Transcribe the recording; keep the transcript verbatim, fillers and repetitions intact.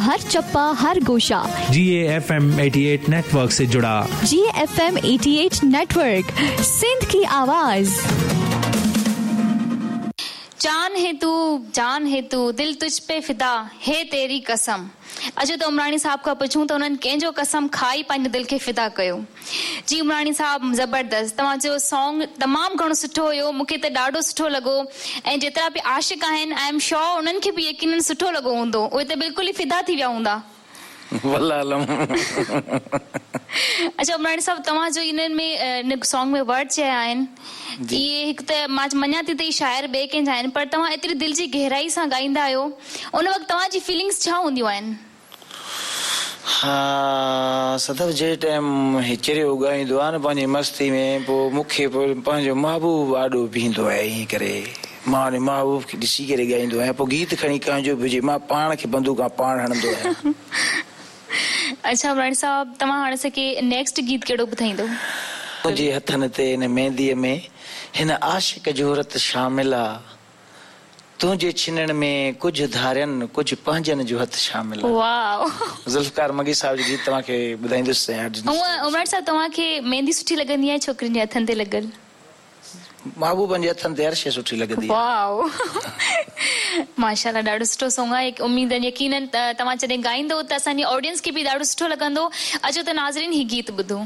हर चप्पा हर गोशा जी F M eighty eight network से जुड़ा G F M eighty eight network Sindh की आवाज़ जान है तू जान है तू दिल तुझ पे फिदा है तेरी कसम अचो त उमराणी साहब खां पुछूं त उन्हनि कंहिंजो कसम खाई पंहिंजे दिलि खे फिदा कयो जी उमराणी साहब ज़बरदस्त तव्हांजो सॉन्ग तमामु घणो सुठो हुयो मूंखे त ॾाढो सुठो लॻो ऐं जेतिरा बि आशिक आहिनि I am sure उन्हनि खे बि यकीनन सुठो लॻो हूंदो उहे त बिल्कुलु ई फिदा थी विया हूंदा वल्लाह अच्छा उमराणी साहब तव्हांजो इन्हनि में इन सॉन्ग में वर्ड चया आहिनि इहे हिकु त मां मञा थी त इहे शाइर ॿिए कंहिंजा आहिनि पर तव्हां एतिरी दिलि जी गहराई सां ॻाईंदा आहियो उन वक़्तु तव्हांजी फीलिंग्स छा हूंदियूं आहिनि हा सदफ जे टाइम हे चरियो ॻाईंदो आहे न पंहिंजी मस्ती में पोइ मूंखे पोइ पंहिंजो महबूब आॾो बीहंदो आहे ईअं करे मां उन महबूब खे ॾिसी करे ॻाईंदो आहियां पोइ गीत खणी कंहिंजो बि हुजे मां पाण खे बंदूक पाण हणंदो आहियां अच्छा उमराणी साहब तव्हां हाणे असांखे नेक्स्ट गीत कहिड़ो ॿुधाईंदो तुंहिंजे हथनि ते हिन मेहंदीअ में हिन आशिक जो रत शामिल आहे तुंहिंजे छिनण में कुझु धारियनि कुझु पंहिंजनि जो हथु शामिल आहे वाओ ज़ुल्फ़कार मंगी साहब जो गीत तव्हांखे ॿुधाईंदुसि हूअं उमराणी साहब तव्हांखे मेहंदी सुठी लॻंदी आहे छोकिरियुनि जे हथनि ते लॻल महबूबनि जे हथनि ते हर शइ सुठी लॻंदी आहे वाओ माशाल्लाह ॾाढो सुठो सॉन्ग आहे उम्मीद यकीनन तव्हां जॾहिं ॻाईंदो त असांजी ऑडियंस खे बि ॾाढो सुठो लॻंदो अचो त नाज़रीन ही गीत ॿुधो